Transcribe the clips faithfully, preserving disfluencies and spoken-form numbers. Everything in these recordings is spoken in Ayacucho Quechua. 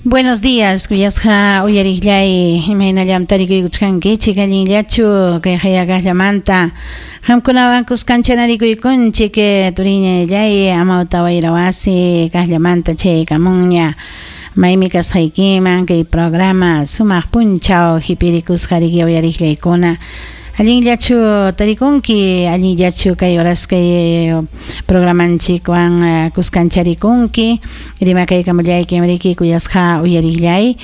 Buenos días, kuyasqa uyariqllay, imaynallam tarikuykuchkankichik, allinllachu kay hayaqallamanta qamkunawan kuskanchanarikuykunchik, turiñallay amawta wayra wasi kaqllamanta chaykamunña maymi kasqaykiman kay programa sumaq punchaw hipirikusqa riki uyariqllaykuna. Allinllachu tarikunki, allinllachu kay horas kay programanchikwan kuskancharikunki, rimakaykamullaykim riki kuyasqa uyariqllay,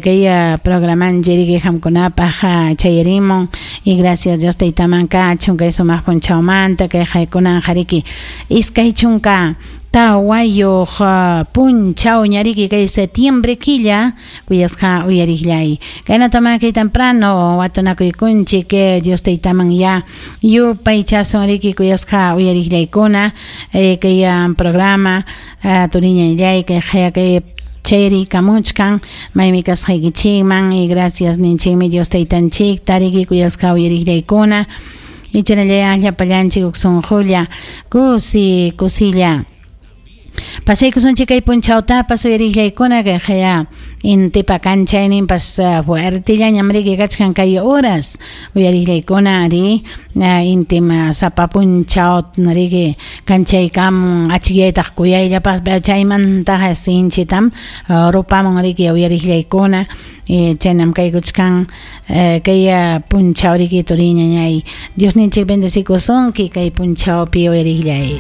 kay programanchik riki qamkunapaq chayarimun y gracias Dios taytaman kachun kay sumaq punchawmanta kay haykunanqa riki iskay chunka tawayuq punchaw ñariki kay septiembre killa kuyasqa uyariqllay. Kaynataman kay temprano watunakuykunchik Dios taytaman ya yupaychasun riki kuyasqa uyariqllaykuna kay programa turiñallay kay kay chayrikamuchkan maymi kasqaykichikman y gracias ninchikmi Dios taytanchikta riki kuyasqa uyariqllaykuna ichanallay llapallanchik huk sunqulla kusi kusilla pasaykusunchik kay punchawtapas uyariqllaykuna kay haya intipa kanchayninpas fuertellañam riki kachkan kay horas uyariqllaykuna ari intim sapa punchaw riki kanchaykamun achikyaytaq kuyayllapaq chaymantaqa sinchitam rupamun riki uyariqllaykuna chaynam kaykuchkan kay punchaw riki turiñañay Diosninchik bendecikusunki kay punchawpi uyariqllay.